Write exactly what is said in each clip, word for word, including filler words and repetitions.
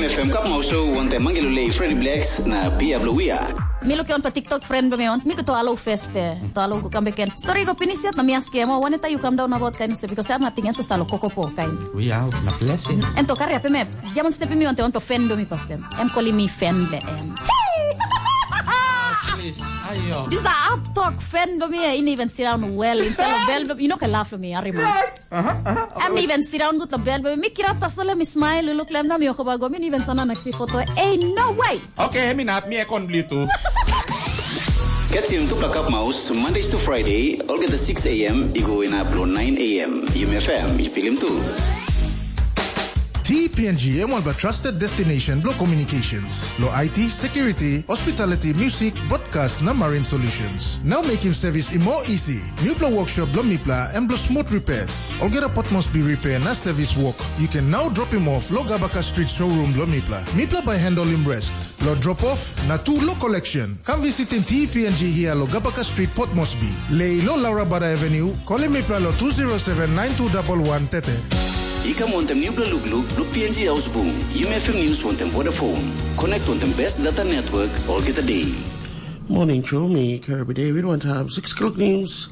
F M Cup Mau Show, wantaim Mangi Lulei, Freddy Blacks na Pia Blue Wia. Mi lukim on pa TikTok friend bilong mi on. Mi go to alo feste. To alo go kam beken. Story go pinis yet na mi askim, "Oh, waneta yu kam daun about kain se because am nating em sa stalo kokopo kain." We out na blessing. En to kari ape me. Jaman step mi on te on to friend bilong mi pastem. Em calling me friend le em. Please. Ayo. This the up talk friend bilong mi. Ini even sit down well. Instead of bell, you know, ke laugh lo mi. Ari mo. Em even sit down good lo bel, mi kirap tasol mi smile, look lem na mi okoba go, mi even sana naksi foto. Hey, no way! Okay, mi nap, mi ekon bli tu. Catch him Tupla Cup Mouse, Mondays to Friday, olgeta six a m, i go inap lo nine a m. Yumi F M, i pilim tu. T P N G em wan trusted destination blo communications. Lo I T, security, hospitality, music, broadcast na marine solutions. Now make him service i more easy. Mipla workshop blo mipla em blo smooth repairs. Olgeta pot must be repair na service work. You can now drop him off lo Gabaka Street showroom blo mipla. Mipla by handle him rest. Lo drop off na tu lo collection. Come visit in T P N G here lo Gabaka Street Port Moresby. Lei lo Laura Bada Avenue, call him mipla lo two zero seven nine two double one tete. I kam wantem nupela lukluk blo P N G Ausbung, Yumi F M News wantem Vodafone. Connect wantem best data network olgeta day. Morning show, me Kirby David, one time six o'clock news.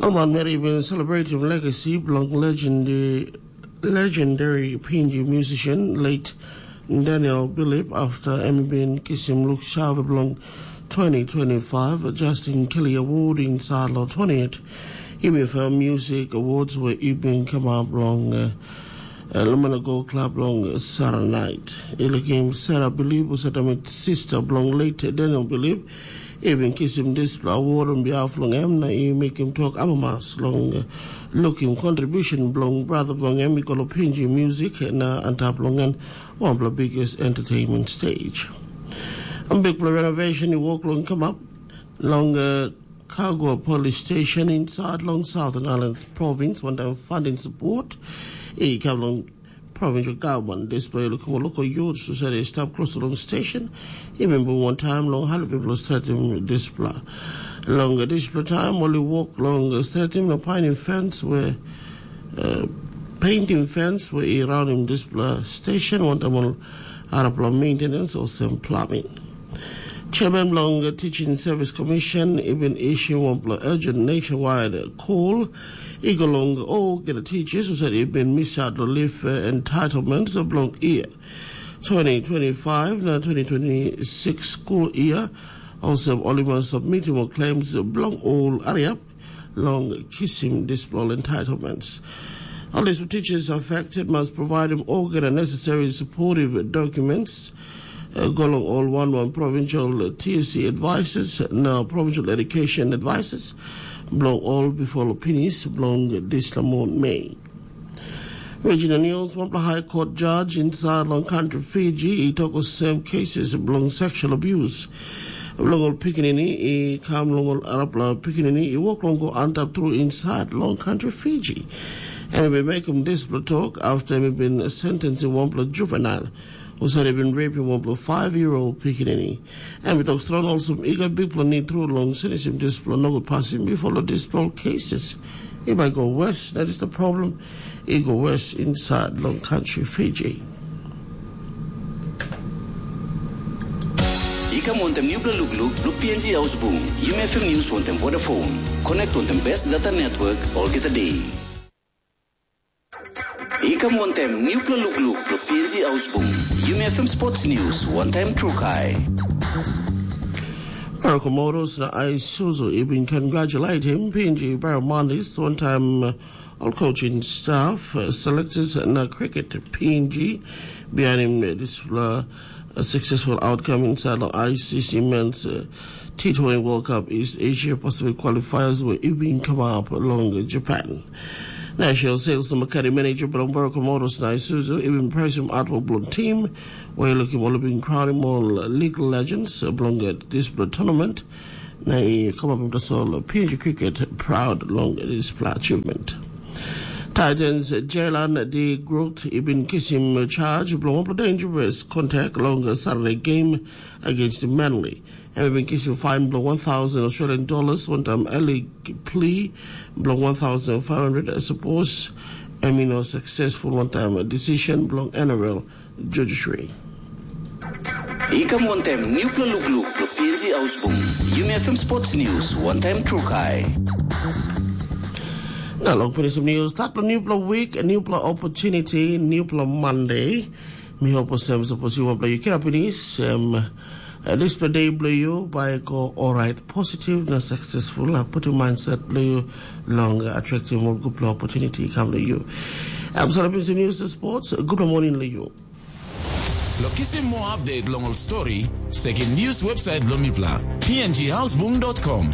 Alman Mary been celebrating legacy belong legendary, legendary P N G musician, late Daniel Bilip, after Emmy been kisim luk save belong twenty twenty-five Justin Kelly Award in Sadlo twenty-eight. Yumi F M Music Awards where you been come up long uh, uh, Lumina Gold Club long Sarah Night. Ilikim Sarah Bilip was at a sister belong late Daniel Bilip. Even kisim dispela award on behalf long em na i mekim tok amamas long uh, lukim contribution bilong brother bilong em i go lo P N G music na antap long en wanpela biggest entertainment stage. A bikpela renovation i wok long kamap long uh, Kagua Police Station inside long Southern Islands Province, one time funding support. I kam long provincial government display lo kumo loko youth society stap close to long station. Even bu one time long halifi blo stratum display. Long display time only walk long stratum na painting fence where uh, painting fence where around him display station one time on arapla maintenance or some plumbing. Chairman long the Teaching Service Commission even issue one urgent nationwide call. I go long all get the teachers who said it been miss out the leave uh, entitlements of long year twenty twenty-five na twenty twenty-six school year. Also, Oliver submitting more claims belong all hurry up long kisim display entitlements. All these teachers affected must provide them all get the necessary supportive documents. Uh, go along all one one provincial T S C advisors, now provincial education advisors, belong all before Lopinis, belong this Lamont May. Regional News, one High Court judge inside long country Fiji, he talk of same cases belong sexual abuse. Belong all pikinini, he come long all arapla pikinini, he walk long go antap through inside long country Fiji. And he been make him this talk after he been sentenced in one juvenile. Who said he been raping one five year old pikinini. And with Australia also, he got big plan through long sinisim this plan no good passing before the this plan cases. If I go west, that is the problem. He go west inside long country Fiji. I kam wantem nupela lukluk blo P N G Ausbung, Yumi F M News wantem Vodafone. Connect wantem best data network olgeta day. I kam wantem nupela lukluk blo P N G Ausbung, Yumi F M Sports News, one time Trukai. Komoros na Isuzu even congratulate him, P N G Barramundi, one time uh, all coaching staff, uh, selectors na cricket P N G behind him uh, this uh, a successful outcome inside the I C C men's uh, T twenty World Cup East Asia Pacific qualifiers where even come up along Japan. National Sales and Makati Manager Bromboro Komoros na Isuzu even praise him artwork blown team where looking all being crowned all legal legends belong at this tournament. Na i come up with us all P N G cricket proud long this achievement. Titans Jalen de Groot i bin kisim charge bilong wanpela dangerous contact long Saturday game against Manly. Em i bin kisim fine bilong one thousand Australian dollars wantaim early plea bilong one thousand five hundred suppose em i no successful wantaim decision bilong N R L judiciary. I kam wantaim nupla lukluk lo P N G Ausbung. Yumi F M Sports News, wantaim trukai. Na long finisim news, start lo nupla week, nupla opportunity, nupla Monday. Mi hope sem sapos you want play you kira pinis, um, uh, this day blue you by go all right, positive na successful. Uh, put your mindset blue you long uh, attractive more good opportunity come to you. I'm sorry, P N G News to Sports. Good morning, Leo. Lo kisim moa update long ol stori, sekim news website bilong mipela, p n g houseboom dot com.